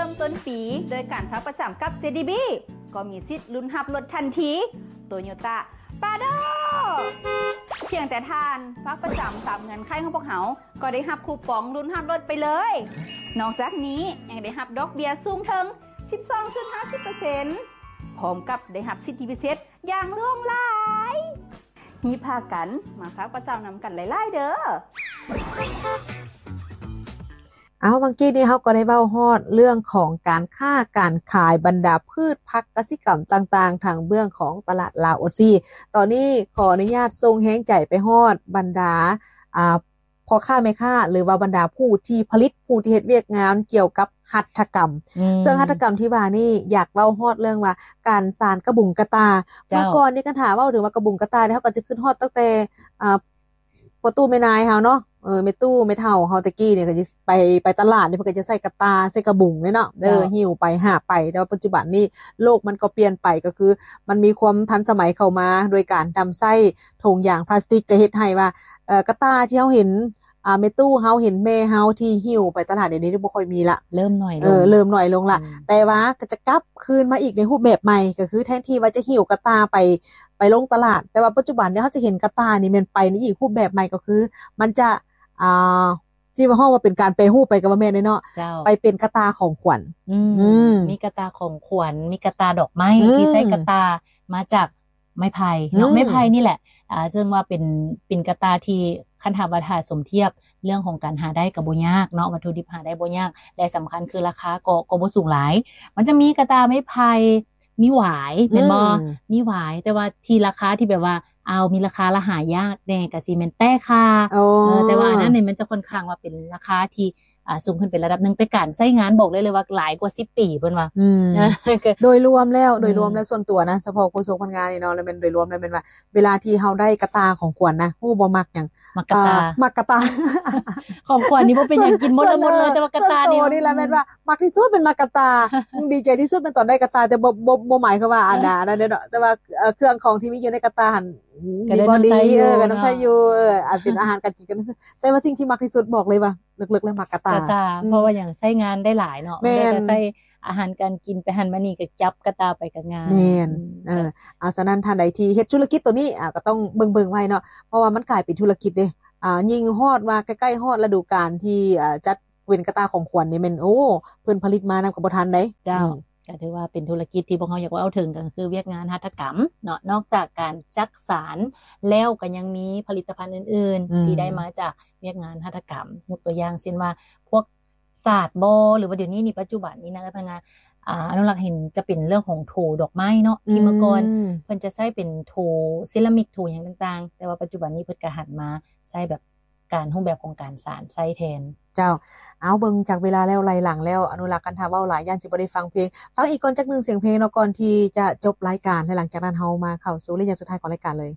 ເລີ່ມຕົ້ນປີໂດຍການຝາກປະຈຳກັບ ເຈ ດີ ບີ ກໍມີສິດລຸ້ນຮັບລົດທັນທີ ໂຕໂຍຕ້າ ປາໂດ ພຽງແຕ່ທ່ານຝາກປະຈຳຕາມເງື່ອນໄຂຂອງພວກເຮົາ ກໍໄດ້ຮັບຄູປອງລຸ້ນຮັບລົດໄປເລີຍ. ນອກຈາກນີ້ຍັງໄດ້ຮັບດອກເບ້ຍສູງເຖິງ ສິບສອງຈຸດຫ້າສິບເປີເຊັນ ພ້ອມກັບໄດ້ຮັບສິດທິພິເສດຢ່າງຫຼວງຫຼາຍ. ຮີບພາກັນມາຝາກປະຈຳນຳກັນຫຼາຍໆເດີ້. ເອົາ ເມື່ອກີ້ນີ້ເຮົາກໍໄດ້ເວົ້າຮອດເລື່ອງຂອງການຄ້າການຂາຍບັນດາພືດຜັກກະສິກຳຕ່າງໆ ທາງເບື້ອງຂອງຕະຫຼາດລາວໂອຊີ. ຕອນນີ້ຂໍອະນຸຍາດສົ່ງແຮງໃຈໄປຮອດບັນດາ ອ່າ ພໍ່ຄ້າແມ່ຄ້າ ຫຼືວ່າບັນດາຜູ້ທີ່ຜະລິດ ຜູ້ທີ່ເຮັດວຽກງານກ່ຽວກັບຫັດຖະກຳ. ອືມ ເຄື່ອງຫັດຖະກຳທີ່ວ່ານີ້ ຢາກເວົ້າຮອດເລື່ອງວ່າການສານກະບຸງກະຕ່າ. ເຈົ້າ ເມື່ອກ່ອນນີ້ ຄັນຖ້າເວົ້າເຖິງວ່າກະບຸງກະຕ່ານີ້ ເຮົາກໍຈະຄິດຮອດຕັ້ງແຕ່ ອ່າ ພໍ່ຕູ້ແມ່ນາຍເຮົາເນາະ ເອີ ແມ່ຕູ້ແມ່ເຖົ້າເຮົາແຕ່ກີ້ນີ້ ກໍຈະໄປ ໄປຕະຫຼາດນີ້ ເພິ່ນກໍຈະໃສ່ກະຕ່າ ໃສ່ກະບຸງເດ້ເນາະ ເອີ ເຈົ້າ ຫິ້ວໄປຫາບໄປ. ແຕ່ວ່າປັດຈຸບັນນີ້ໂລກມັນກໍປ່ຽນໄປ ກໍຄືມັນມີຄວາມທັນສະໄໝເຂົ້າມາ ໂດຍການນຳໃຊ້ຖົງຢາງພລາສຕິກ ກໍເຮັດໃຫ້ວ່າ ເອີ ກະຕ່າທີ່ເຮົາເຫັນ ອ່າ ແມ່ຕູ້ເຮົາ ເຫັນແມ່ເຮົາທີ່ຫິ້ວໄປຕະຫຼາດ ດຽວນີ້ບໍ່ຄ່ອຍມີລະ ເລີ່ມໜ້ອຍລົງ ເອີ ເລີ່ມໜ້ອຍລົງລະ. ອືມ ແຕ່ວ່າກໍຈະກັບຄືນມາອີກໃນຮູບແບບໃໝ່ ກໍຄືແທນທີ່ວ່າຈະຫິ້ວກະຕ່າໄປ ໄປລົງຕະຫຼາດ ແຕ່ວ່າປັດຈຸບັນນີ້ເຮົາຈະເຫັນກະຕ່ານີ້ແມ່ນໄປໃນອີກຮູບແບບໃໝ່ ກໍຄືມັນຈະ ອ່າ ຊິວ່າເຮົາວ່າເປັນການແປຮູບໄປກໍບໍ່ແມ່ນເດ້ເນາະ ເຈົ້າ ໄປເປັນກະຕ່າຂອງຂວັນ. ອືມ ອືມ ມີກະຕ່າຂອງຂວັນ ມີກະຕ່າດອກໄມ້ ອືມ ທີ່ໃຊ້ກະຕ່າມາຈາກໄມ້ໄຜ່ເນາະ ອືມ ໄມ້ໄຜ່ນີ້ແຫຼະ. ອ່າ ເຊິ່ງວ່າເປັນ ເປັນກະຕ່າທີ່ ຄັນຖ້າວ່າ ຖ້າສົມທຽບເລື່ອງຂອງການຫາໄດ້ກໍບໍ່ຍາກເນາະ ວັດຖຸດິບຫາໄດ້ບໍ່ຍາກ ແລະ ສຳຄັນຄືລາຄາກໍ ກໍບໍ່ສູງຫຼາຍ. ມັນຈະມີກະຕ່າໄມ້ໄຜ່ ມີຫວາຍແມ່ນບໍ່? ອືມ ມີຫວາຍ ແຕ່ວ່າທີ່ລາຄາທີ່ແບບວ່າ ເອົາ ມີລາຄາລະຫາຍາກແດ່ ກະຊິແມ່ນແຕ້ຂ່າ. ໂອ້ ເອີ ແຕ່ວ່າອັນນັ້ນນີ້ມັນຈະຄ່ອນຂ້າງວ່າເປັນລາຄາທີ່ ອ່າ ສູງຂຶ້ນໄປລະດັບໜຶ່ງ ແຕ່ການໃຊ້ງານບອກໄດ້ເລີຍວ່າຫຼາຍກວ່າສິບປີເພິ່ນວ່າ. ອືມ ໂດຍລວມແລ້ວ ໂດຍລວມແລ້ວ ອືມ ສ່ວນຕົວນະ ສະເພາະໂຄສົກພັນງານນີ້ເນາະ ແລ້ວແມ່ນໂດຍລວມແລ້ວແມ່ນວ່າ ເວລາທີ່ເຮົາໄດ້ກະຕ່າຂອງຂວັນນະ ຮູ້ບໍ່ມັກຫຍັງ? ມັກກະຕ່າ ເອີ ມັກກະຕ່າ. ຂອງຂວັນນີ້ບໍ່ເປັນຫຍັງ ກິນໝົດແລ້ວໝົດເລີຍ ແຕ່ວ່າກະຕ່ານີ້ ສ່ວນໂຕນີ້ລະແມ່ນວ່າມັກທີ່ສຸດແມ່ນມັກກະຕ່າ. ອືມ ດີໃຈທີ່ສຸດແມ່ນຕອນໄດ້ກະຕ່າ ແຕ່ບໍ່ ບໍ່ ບໍ່ໝາຍຄວາມວ່າອັນນັ້ນເດ້ເນາະ ແຕ່ວ່າ ເອີ ເຄື່ອງຂອງທີ່ມີຢູ່ໃນກະຕ່າຫັ້ນ ດີບໍ່ດີ ເອີ ກໍນຳໃຊ້ຢູ່ ເອີ ອັນເປັນອາຫານການກິນກັນ. ແຕ່ວ່າສິ່ງທີ່ມັກທີ່ສຸດບອກເລີຍວ່າ ເລິກໆແລ້ວມັກກະຕ່າ ກະຕ່າ ອືມ ເພາະວ່າຫຍັງ ໃຊ້ງານໄດ້ຫຼາຍເນາະ ແມ່ນ ໄດ້ກໍໃຊ້ອາຫານການກິນໄປຫັ້ນມານີ້ ກໍຈັບກະຕ່າໄປກໍງ່າຍ. ແມ່ນ ອືມ ເອີ ເຈົ້າ ອ່າ ສະນັ້ນທ່ານໃດທີ່ເຮັດທຸລະກິດໂຕນີ້ ອ່າ ກໍຕ້ອງເບິ່ງໆໄວ້ເນາະ ເພາະວ່າມັນກາຍເປັນທຸລະກິດເດ້. ອ່າ ຍິ່ງຮອດວ່າໃກ້ໆຮອດລະດູການທີ່ ອ່າ ຈັດເປັນກະຕ່າຂອງຂວັນນີ້ແມ່ນ ໂອ້ ເພິ່ນຜະລິດມານຳກໍບໍ່ທັນເດ້. ເຈົ້າ ອືມ ກໍຖືວ່າເປັນທຸລະກິດທີ່ພວກເຮົາຢາກເວົ້າເຖິງ ກໍຄືວຽກງານຫັດຖະກຳເນາະ ນອກຈາກການຈັກສານແລ້ວ ກໍຍັງມີຜະລິດຕະພັນອື່ນໆ ອືມ ທີ່ໄດ້ມາຈາກວຽກງານຫັດຖະກຳ ຍົກຕົວຢ່າງເຊັ່ນວ່າ ພວກສາດບໍ ຫຼືວ່າດຽວນີ້ນີ້ ປັດຈຸບັນນີ້ນະ ພະນັກງານ ອ່າ ອະນຸລັກເຫັນຈະເປັນເລື່ອງຂອງໂຖດອກໄມ້ເນາະ ທີ່ເມື່ອກ່ອນ ອືມ ເພິ່ນຈະໃຊ້ເປັນໂຖເຊຣາມິກ ໂຖຫຍັງຕ່າງໆ ແຕ່ວ່າປັດຈຸບັນນີ້ເພິ່ນກໍຫັນມາໃຊ້ແບບ ການ ຮູບແບບຂອງການສານໃຊ້ແທນ. ເຈົ້າ ເອົາ ເບິ່ງຈາກເວລາແລ້ວ ໄລ່ຫຼັງແລ້ວ ອະນຸລັກ ຄັນຖ້າເວົ້າຫຼາຍຢ້ານຊິບໍ່ໄດ້ຟັງເພງ ຟັງອີກກ່ອນຈັກໜຶ່ງສຽງເພງເນາະ ກ່ອນທີ່ຈະຈົບລາຍການ ແລະ ຫຼັງຈາກນັ້ນເຮົາມາເຂົ້າສູ່ໄລຍະສຸດທ້າຍຂອງລາຍການເລີຍ.